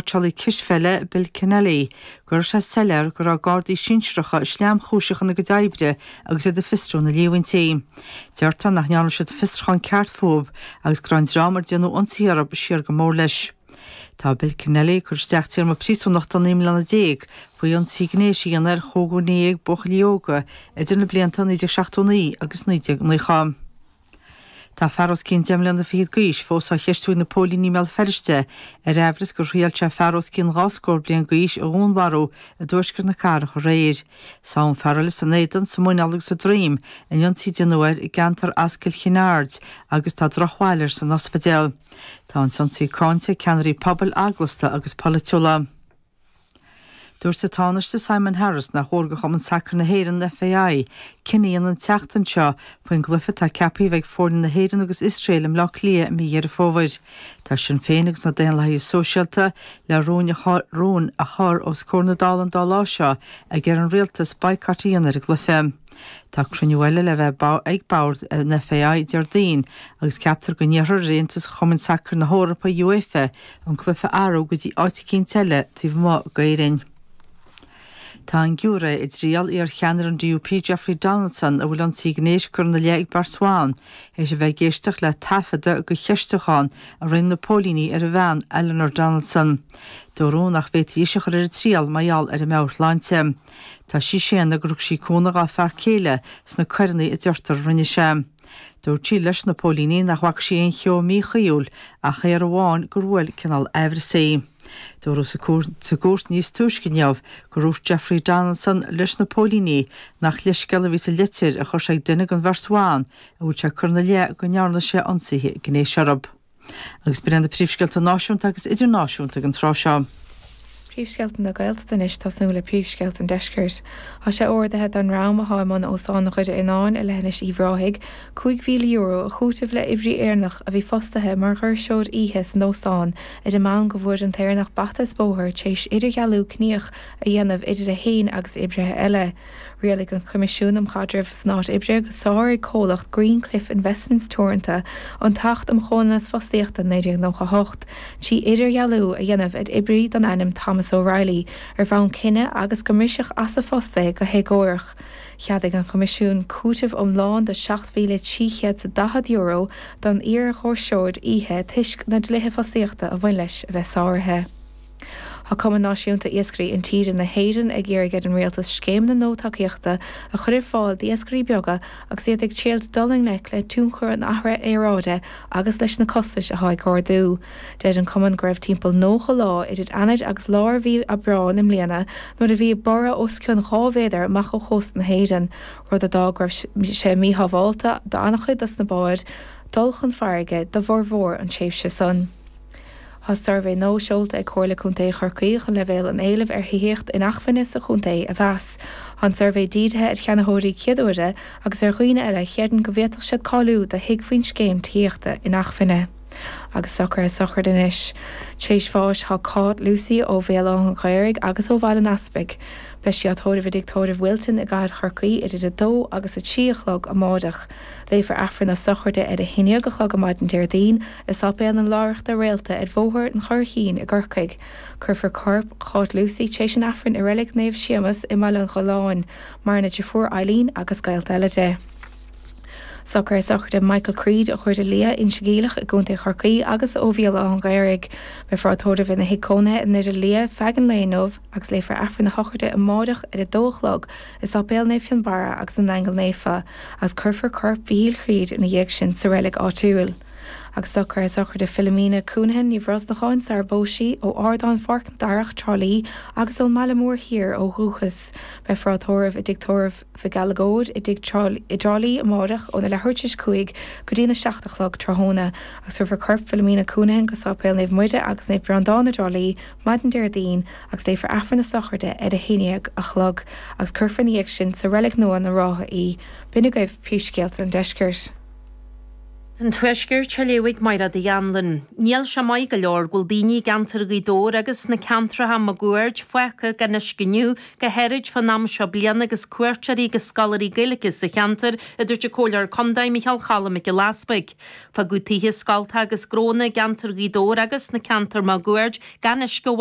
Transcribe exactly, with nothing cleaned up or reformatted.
cóitseálaí cispheile Bill Kennelly go raibh sé soiléir go raibh gardaí sinsearacha sleamchúiseach ina gcuid oibre agus iad ag fiosrú na líomhaintí. Deirtear nach ndearna siad fiosrúchán ceart fúthu agus go raibh an dream ar déanadh ionsaí orthu siar go mór leis. Tá Bill Kennelly curtha isteach téarma príosúnachta naoi mbliana déag faoi ionsaí gnéis a dhéanamh ar chúig dhuine dhéag buachaillí óga idir na blianta naoi déag seachtó naoi agus naoi déag nócha. Tá fear os cionn deich mbliana fichead d'aois fós á cheistiú ag na póilíní i mBéal Feirste ar aimhreas gur thriail sé fear os cionn dhá scór bliain d'aois a dhúnmharú i dtuaisceart na cathrach aréir. Sádh an fear eile san éadan, sa muineál agus sa droim in ionsaí a déanadh air i gceantar Ascaill Chinn Aird agus tá drochbhail air san ospidéal. Tá an t-ionsaí cáinte ag ceannairí pobail eaglasta agus polaitiúla. Dúirt an Tánaiste Simon Harris nach mór do Chumann Sacair na hÉireann FAI cinneadh an tseachtain seo faoin gcluiche atá ceaptha a bheith ag foirne na hÉireann agus Iosrael i mBleá Cliath i mí Dheireadh Fómhair. Tá Sinn Féin agus na Daonlathaithe Sóisialta le rún rún a chur os comhair na Dála an dá lá seo ag iarraidh ar an rialtas boycott a dhéanamh ar an gcluiche. Tá cruinniú eile le bheith ag bord an FAI Déardaoin agus ceaptar go n-iarrfar ar Aontas Chumann Sacair na hEorpa UEFA an cluiche a athrú go dtí áit eicínt eile taobh amuigh d'Éirinn. Tá an giúiré i dtriail iar-cheannaire an DUP Jeffrey Donaldson a bhfuil ionsaí gnéis curtha ina leith ag beirt bhan, théis a bheith ag éisteacht le taifeadadh de cheistiúchán a rinne na póilíní ar a bhean Eleanor Donaldson. Dúradh nach bhféadfaí ise a chur ar an triail mar gheall ar a meabhairshláinte. Tá sí ag séanadh gur thug sí cúnamh dá fear céile sna coireanna a deirtear a rinne sé. Dúirt sí leis na póilíní nach bhfaca sí aon cheo míchuíúil ach aon rud amháin gur bhuail cineál aimhreas í. Dúradh sa gcúirt níos túisce inniu gur dhúirt Jeffrey Donaldson leis na póilíní nach leithscéal a bhí sa litir a chuir sé ag duine den bheirt bhan a bhfuil sé curtha ina leith go ndearna sé ionsaithe gnéis orthu. Agus b'in na príomhscéalta náisiúnta agus idirnáisiúnta ag an tráth seo. Príomhscéalta na Gaeltachta anois tosnú le príomhscéalta an deiscirt. Tá sé ordaithe don dream atá i mbun Óstán Dhoire Fhíonáin i leithinis Uíbh Ráthaigh, cúig mhíle euro a chúiteamh le oibrí Éireannach a bhí fostaithe mar dhoirseoir oíche san óstán ag an am go bhfuair an tÉireannach bata is bóthar tar éis idirdhealú ciníoch a dhéanamh idir é féin agus oibrithe eile. Rialaigh an Coimisiún um Chaidreamh san Áit Oibre gur sháraigh comhlacht Greencliff Investments Teoranta an tAcht um Chomhionannas Fostaíochta naoi déag nócha hocht, trí idirdhealú a dhéanamh ar oibrí den ainm Thomas O'Reilly ar bhonn cine agus go mbriseadh as a phost é go héagórach. Cheadaigh an Coimisiún cúiteamh iomlán de seacht mhíle trí chéad is daichead euro don iardhoirseoir oíche toisc na dlíthe fostaíochta a bhain leis a bheith sáraithe. Tá Cumann Náisiúnta Iascairí Intíre na hÉireann ag iarraidh ar an rialtas scéimeanna nua tacaíochta a chur ar fáil d'iascairí beaga agus iad ag triail dul i ngleic le tionchar an athraithe aeráide agus leis na costais atá ag ardú. Deir an cumann go raibh timpeall nócha lá idir Eanáir agus lár mhí Aibreáin i mbliana nuair a bhí borradh os cionn dhá mhéadar amach ó chósta na hÉireann, rud a d'fhág go raibh sé míshábháilte d'an-chuid dos na báid dul chun farraige do bhformhór an tréimhse san. Tá suirbhé nua seolta ag Comhairle Contae Chorcaí chun leibhéal an éilimh ar thithíocht inacmhainne sa chontae a mheas. Tá an suirbhé dírithe ar cheannaitheoirí céad uaire agus ar dhaoine eile a chreideann go bhféadfadh siad cáiliú do thigh faoin scéim tithíochta inacmhainne. Agus socruithe sochraide anois. Tar éis bháis tá Cáit Lucy ó Bhéal Átha an Ghaorthaidh agus ó Bhaile an Easpaig. Beidh sí á tórramh i dTigh Tórraimh Wilton i gcathair Chorcaí idir a dó agus a trí a chlog amáireach. Léifear Aifreann na sochraide ar a haon déag a chlog ar maidin Déardaoin i Sáipéal na Láithreachta Réalta ar Bhóthar an Churraichín i gCorcaigh. Cuirfear corp Cháit Lucy tar éis an Aifrinn i Reilig Naomh Séamus i mBaile an Gholláin, maireann a deirfiúr Eileen agus gaolta eile di. Socruithe sochraide Michael Creed ó Dhoire Liath Inse Geimhleach i gContae Chorcaí agus ó Bhéal Átha an Ghaorthaidh. Beifear á tórramh ina thigh cónaithe i nDoire Liath feadh an lae inniu agus léifear Aifreann na sochraide amáireach ar a dó a chlog i Sáipéal Naomh Fionnbarra agus na nAingeal Naofa, agus cuirfear corp Mhichíl Chreed ina dhiaidh sin sa reilig áitiúil. Agus socruithe sochraide Philomena Counihan Ní Bhrosnacháin sara bpós sí ó Ardán Pháirc na Darach Trá Lí agus ón mBaile Mór Thiar ó dhúchas. Beifear á tórramh i dTigh Tórraimh Mhic Gallagóir i dTigh i dTrá Lí amáireach óna leathuair tar éis cúig go dtí na seacht a chlog tráthnóna, agus tabharfar corp Philomena Counihan go Sáipéal Naomh Muire agus Naomh Breandán i dTrá Lí maidin Déardaoin agus léifear Aifreann na sochraide ar a haon déag a chlog agus cuirfear ina dhiaidh sin sa reilig nua na Rátha í. B'in agaibh príomhscéalta an deiscirt. An Tuaisceart á léamh ag Máire Uí Anluain. Níl sé maith go leor go bhfuil daoine i gceantar Ghaoth Dobhair agus sna ceantracha máguaird fágtha gan uisce inniu, go háirid fán am seo bliana agus cuairteoirí agus scoláirí Gaeilge sa cheantar, a dúirt an Comhairleoir Contae Micheál Choilm Mac Giolla Easpaig. Fágadh tithe, scoltacha agus gnónna i gceantar Ghaoth Dobhair agus sna ceantair máguaird gan uisce ó